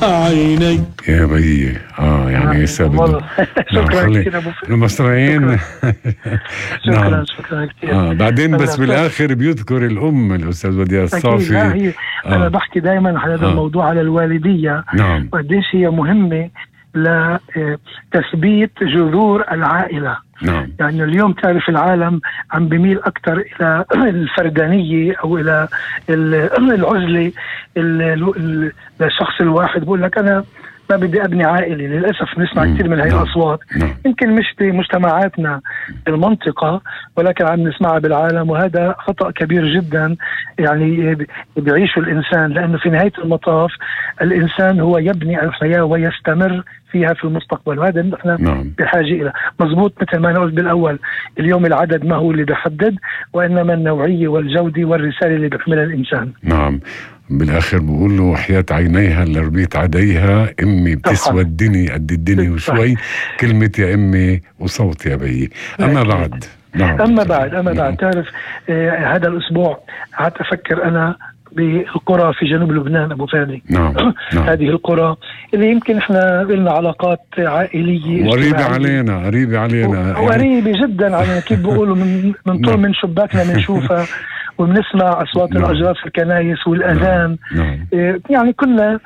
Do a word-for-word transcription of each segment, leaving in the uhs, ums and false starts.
بعيني. يا بيي اه يعني هسه بده شكرا كثير ابو فهد. المصريين. شكرا نعم. شكرا كثير. آه بعدين بس أنا- بالاخر بيذكر الام الاستاذ وديع أكيد. الصافي. لا هي آه. انا بحكي دائما على هذا آه. الموضوع على الوالديه نعم. وقديش هي مهمه لتثبيت جذور العائله. نعم. يعني اليوم تعرف العالم عم بميل أكثر إلى الفردانية أو إلى العزلة للشخص الواحد. بقول لك أنا ما بدي أبني عائلة. للأسف نسمع كثير من هاي نعم. الأصوات. نعم. يمكن مش بمجتمعاتنا بالمنطقة ولكن عم نسمعها بالعالم، وهذا خطأ كبير جدا يعني بيعيشه الإنسان، لأنه في نهاية المطاف الإنسان هو يبني الحياة ويستمر فيها في المستقبل، وهذا نحن نعم. بحاجة إلى مضبوط. مثل ما أنا قلت بالأول، اليوم العدد ما هو اللي بيحدد وإنما النوعية والجودة والرسالة اللي بيحملها الإنسان. نعم. بالاخر بقول له حياة عينيها اللي ربيت عديها امي بتسوى الدنيا قد الدنيا وشوي. كلمة يا امي وصوت يا بيي. اما بعد نعم. اما بعد اما نعم. بعد تعرف آه هذا الاسبوع قعدت افكر انا بالقرى في جنوب لبنان ابو فادي. نعم. نعم. هذه القرى اللي يمكن احنا لنا علاقات عائليه قريبة علينا قريبة علينا وقريبة يعني جدا علينا. كيف بيقولوا من من طول من شباكنا بنشوفها وبنسمع أصوات نعم. الأجراس في الكنائس والأذان. نعم. نعم. يعني كنا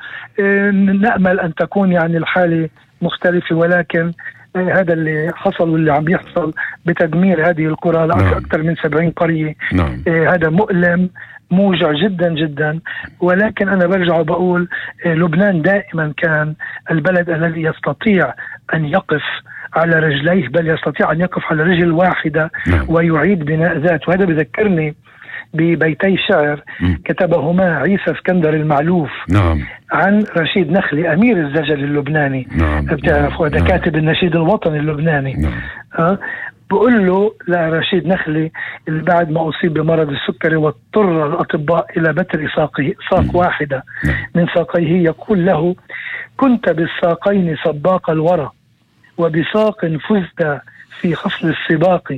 نأمل أن تكون يعني الحالة مختلفة، ولكن هذا اللي حصل واللي عم بيحصل بتدمير هذه القرى لأكثر نعم. من سبعين قرية. نعم. هذا مؤلم موجع جدا جدا. ولكن أنا برجع وبقول لبنان دائما كان البلد الذي يستطيع أن يقف على رجليه، بل يستطيع أن يقف على رجل واحدة نعم. ويعيد بناء ذات. وهذا بذكرني ببيتي شعر م. كتبهما عيسى اسكندر المعلوف نعم. عن رشيد نخلي أمير الزجل اللبناني. نعم. بتعرف هذا نعم. كاتب النشيد الوطني اللبناني. نعم. أه؟ بقول له لرشيد نخلي اللي بعد ما أصيب بمرض السكري واضطر الأطباء إلى بتر ساقه ساق م. واحدة نعم. من ساقيه، يقول له: كنت بالساقين سباق الورى وبساق فزت في خصل السباق.